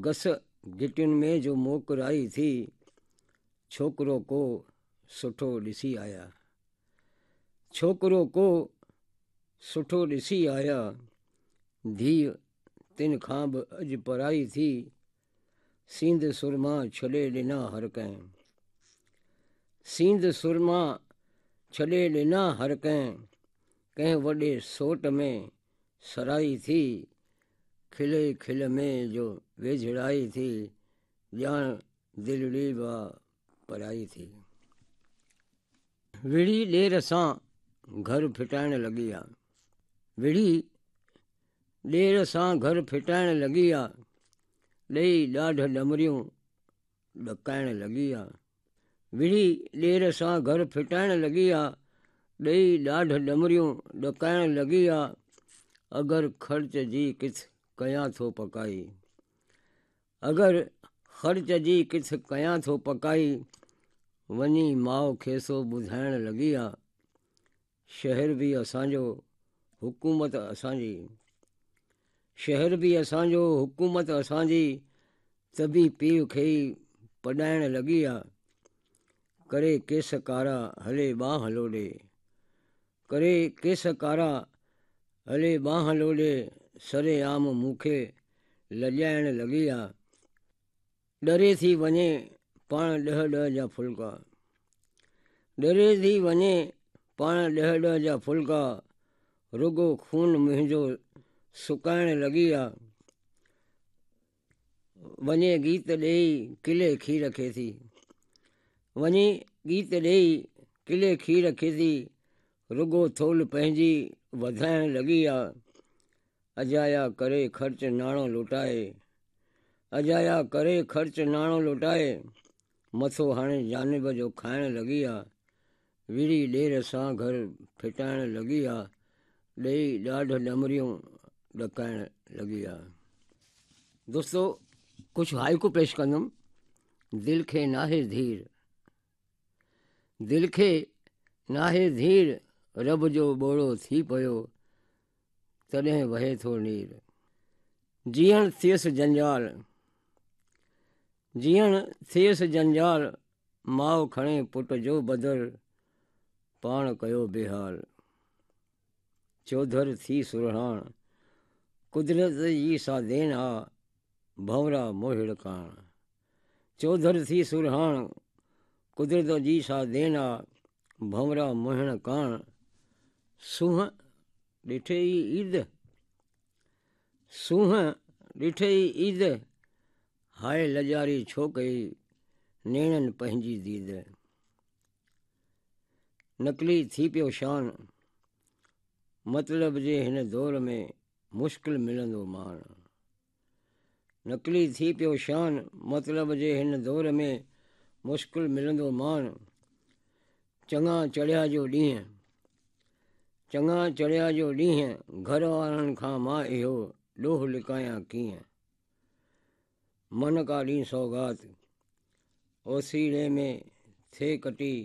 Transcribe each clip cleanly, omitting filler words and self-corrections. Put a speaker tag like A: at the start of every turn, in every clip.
A: گس گهٽين ۾ جو موڪرائي ٿي، ڇوڪرو ڪو سٺو ڏسي آيا. ڇوڪرو ڪو سٺو ڏسي آيا، ڌيء تن کان به اڄ پرائي ٿي، سينڌ سرما ڇڏي ڏنا هر ڪنهن. سينڌ سرما ڇڏي ڏنا هر ڪنهن، ڪنهن وڏي سوٽ ۾ سرائي ٿي، کلي کل ۾ جو ويجهڙائي ٿي، ڄاڻ دلڙي به آ پرائي ٿي. وڙهي ڏير سان گهر ڦٽائڻ لڳي آ. وڙهي ڏير سان گهر ڦٽائڻ لڳي آ، ڏئي ڏاڍ ڏمريون ڏڪائڻ لڳي آ. وڙهي ڏير سان گهر ڦٽائڻ لڳي آ، ڏئي ڏاڍ ڏمريون ڏڪائڻ لڳي آ، اگر خرچ جي ڪٿ ڪيان ٿو پڪائي. اگر خرچ جي ڪٿ ڪيان ٿو پڪائي، وڃي ماء کي سو ٻڌائڻ لڳي آ. شهر به اسان جو، حڪومت اسان جي. شهر به اسان جو، حڪومت اسان جي، ته به پيء کي ئي پڏائڻ لڳي آ. ڪري ڪيس ڪارا، هلي ٻانهن لوڏي. ڪري ڪيس ڪارا، هلي ٻانهن لوڏي، سري عام مون کي لڄائڻ لڳي آ. ڏري ٿي وڃي پاڻ ڏهه ڏهه جا ڦلڪا. ڏري ٿي وڃي پاڻ ڏهه ڏهه جا ڦلڪا، رڳو خون منهنجو سڪائڻ لڳي آ. وڃي گيت ڏيئي ڪلي کير کي ٿي. وڃي گيت ڏيئي ڪلي کير کي ٿي، رڳو ٿولهه پنهنجي وڌائڻ لڳي آ. اجايا ڪري خرچ ناڻو لٽائي. اجايا ڪري خرچ ناڻو لٽائي، مٿو هاڻي جانب جو کائڻ لڳي آ. وڙهي ڏير سان گهر ڦٽائڻ لڳي آ، ڏيئي ڏاڍ ڏمريون ڏڪائڻ لڳي آ. دوستو ڪجهه هائيڪو پيش ڪندم، دل کي ناهي ڌير، دل کي ناهي ڌير، رب جو ٻوڙو ٿي پيو، تڏهن وهي ٿو نير. جيئڻ ٿيس جنجال، جيئڻ ٿيس جنجال، ماء کڻي پٽ جو بدر، پاڻ ڪيو بيحال. چوڌر ٿي سرهاڻ، قدرت جي سا دين آ، ڀنورا موهڙ ڪاڻ. چوڌر ٿي سرهاڻ، قدرت جي سا دين آ، ڀنورا موهڻ ڪاڻ. سونهن ڏٺي ئي عيد، سونهن ڏٺي ئي عيد، هاء لڄاري ڇو ڪئي نيڻن پنهنجي ديد. نقلي ٿي پيو شان، مطلب جي هن دور ۾ مشڪل ملندو مان. نقلي ٿي پيو شان، مطلب جي هن دور ۾ مشڪل ملندو مان. چڱا چڙهيا جو ڏينهن، چڱا چڙهيا جو ڏينهن، گهر وارن کان مان اهو ڏوهه لڪايان ڪيئن. من ڪا ڏينهن سوغات، اوسيڙي ۾ ٿئي ڪٽي،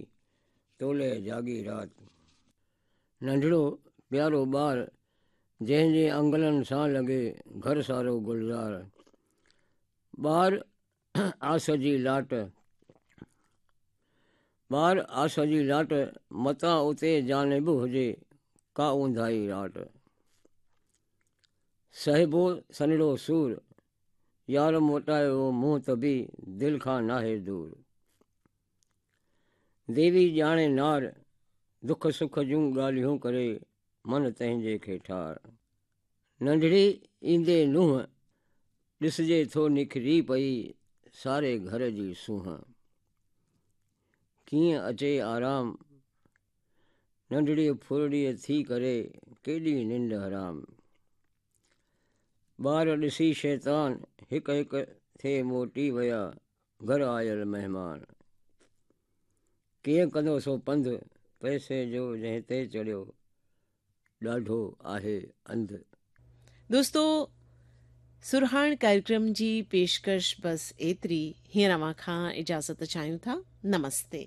A: تولئه جاڳي رات. ننڍڙو پيارو ٻار، جنهن جي انگلن سان لڳي گهر سارو گلزار. ٻار آس جي لاٽ، ٻار آس جي لاٽ، متان اتي جانب هجي ڪا اونداهي راٽ. سهبو سنهڙو سور، يار موٽايو منهن ته به دل کان ناهي دور. ديوي ڄاڻي نار، دک سک جون ڳالهيون ڪري من تنهنجي کي ٺار. ننڍڙي ايندي نونهن، ڏسجي ٿو نکري پئي ساري گهر جي سونهن. ڪيئن اچي آرام، ننڍڙيء ڦرڙيء ٿي ڪري ڪيڏي ننڊ حرام. ٻار ڏسي شيطان هڪ هڪ ٿي موٽي ويا گهر آيل مهمان. ڪيئن ڪندو سو پنڌ پئسي جو جنهن تي چڙهيو ڏاڍو آهي انڌ.
B: دوستو سرهاڻ ڪاريڪرم جي پيشڪش بس ايتري هينئر اوهان کان اجازت چاهيون ٿا نمستي.